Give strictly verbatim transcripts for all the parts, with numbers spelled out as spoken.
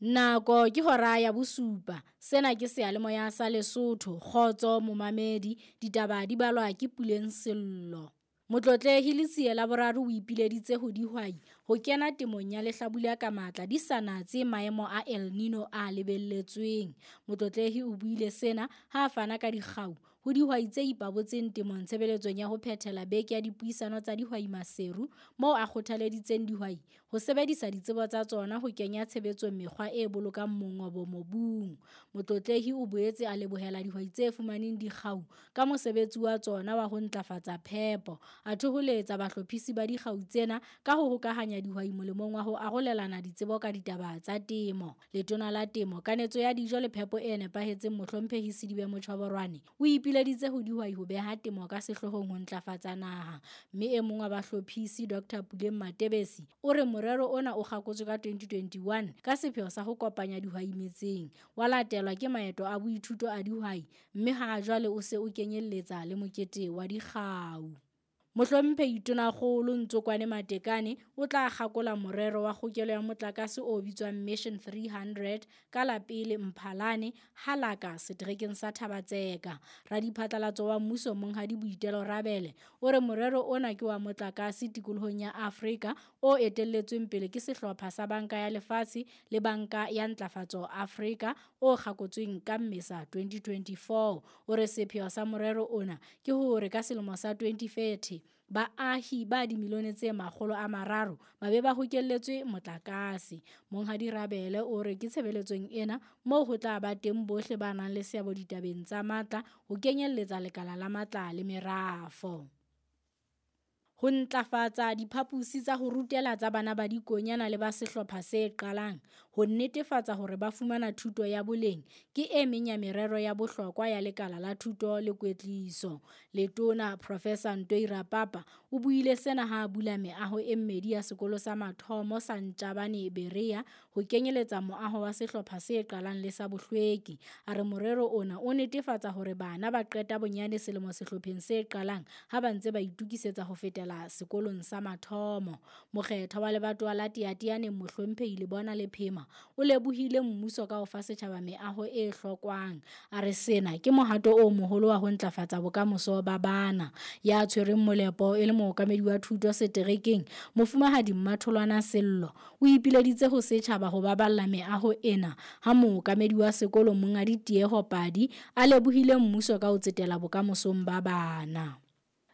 Nako ke hora ya bosupa. Sena ke seyalemoya sa Lesotho. Kgotso momamedi, ditaba di balwa ke Puleng Sello. Motlotlehi Letsie la Boraro o ipileditse ho dihwai ho kena temong ya lehlabula ka matla di sa natse maemo a El Nino a lebelletsweng. Motlotlehi o buile sena ha a fana ka dikgau ho dihwai tse ipabotseng temong tshebeletsong ya ho phethela beke ya dipuisano tsa dihwai Maseru, moo a kgothaleditseng dihwai ho sebedisa ditsebo tsa tsona ho kenya tshebetsong mekgwa e bolokang mongobo mobung. Motlotlehi o boetse a lebohela dihwai tse fumaneng dikgau ka mosebetsi wa tsona wa ho ntlafatsa phepo. A thoholetsa bahlophisi ba dikgau tsena ka ho hokahanya dihwai molemong wa ho arolelana ditsebo ka ditaba tsa temo. Letona la Temo, Kanetso ya Dijo le Phepo e Nepahetseng Mohlomphehi Sedibe Motjhoborwane o ipileditse ho dihwai ho beha temo ka sehloohong ho ntlafatsa naha. Mme e mong wa bahlophisi Doctor Puleng Matebesi o re morero ona o kgakotswe ka twenty twenty-one ka sepheo sa ho kopanya dihwai metseng, wa latelwa ke maeto a boithuto a dihwai, mme ha jwale o se o kenyelletsa le mokete wa dikgau. Mohlomphehi Tonakgolo Ntsokwane Matekane o tla kgakola morero wa kgokelo ya motlakase o bitswang Mission three hundred ka la pele Mphalane Halaka seterekeng sa Thaba-Tseka. Radiphatlalatso wa mmuso Monghadi Boitelo Rabele o re morero ona ke wa motlakase tikolohong ya Afrika o etelletsweng pele ke sehlopha sa Banka ya Lefatshe le Banka ya Ntlafatso Afrika o kgakotsweng ka Mmesa twenty twenty-four. O re sepheo sa morero ona ke hore ka selemo sa twenty thirty baahi ba dimilione tse makgolo a mararo ba be ba hokelletswe motlakase. Monghadi Rabele o re ke tshebeletsong ena moo ho tla ba teng bohle ba nang le seabo ditabeng tsa matla ho kenyelletsa lekala la matla le merafo. Ho ntlafatsa diphaposi tsa ho rutela tsa bana ba dikonyana le ba sehlopha se qalang, ho netefatsa hore ba fumana thuto ya boleng ke e meng ya merero ya bohlokwa ya lekala la thuto le kwetliso. Letona Professor Ntoi Rapapa o buile sena ha a bula meaho e mmedi ya sekolo sa mathomo sa Ntjabane Berea ho kenyeletsa moaho wa sehlopha se qalang le sa bohlweki. A re morero ona o netefatsa hore bana ba qeta bonyane selemo sehlopheng se qalang ha ba ntse ba itokisetsa ho fetela sekolong sa mathomo. Mokgethwa wa lebatowa la Teyateyaneng Mohlomphehi Lebona Lephema o lebohile mmuso ka ho fa setjhaba meaho e hlokwang. A re sena ke mohato o moholo wa ho ntlafatsa bokamoso ba bana. Ya tshwereng molepo e le mookamedi wa thuto seterekeng Mofumahadi Mmatholwana Sello o ipileditse ho setjhaba ho baballa meaho ena ha mookamedi wa sekolo Monghadi Tieho Padi a lebohile mmuso ka ho tsetela bokamosong ba bana.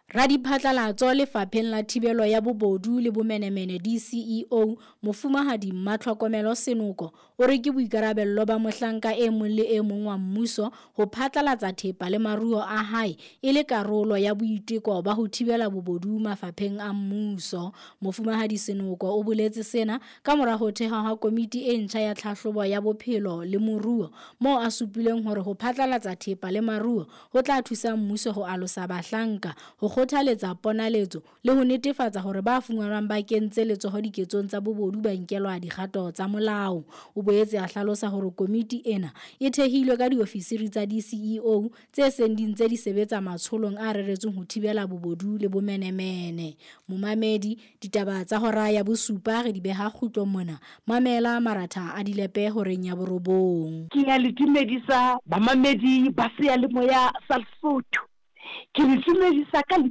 Radiphatlalatso lefapheng la thibelo ya bobodu le bomenemene D C E O Mofumahadi Mmatlhokomelo Senoko o re ke boikarabello ba mohlanka e mong le e mong wa mmuso ho phatlalatsa thepa le maruo a hae e le karolo ya boiteko ba ho thibela bobodu mafapheng a mmuso. Mofumahadi Senoko o boletse sena ka mora ho thehwa ha komiti e ntjha ya tlhahlobo ya bophelo le moruo moo a supileng hore ho phatlalatsa thepa le maruo ho tla thusa mmuso ho alosa bahlanka, ho kgothaletsa ponaletso le ho netefatsa hore ba fumanwang ba kentse letsoho diketsong tsa bobodu ba nkelwa dikgato tsa molao. O boetse a hlalosa hore komiti ena e thehilwe ka diofisiri tsa D C E O tse seng di ntse di sebetsa matsholong a reretsweng ho thibela bobodu le bomenemene. Momamedi, ditaba tsa hora ya bosupa re di beha kgutlo mona. Mamela maratha a dilepe horeng ya borobong. Ke ya le dumedisa bamamedi ba seyalemoya sa Lesotho. Ke le dumedisa ka lebitso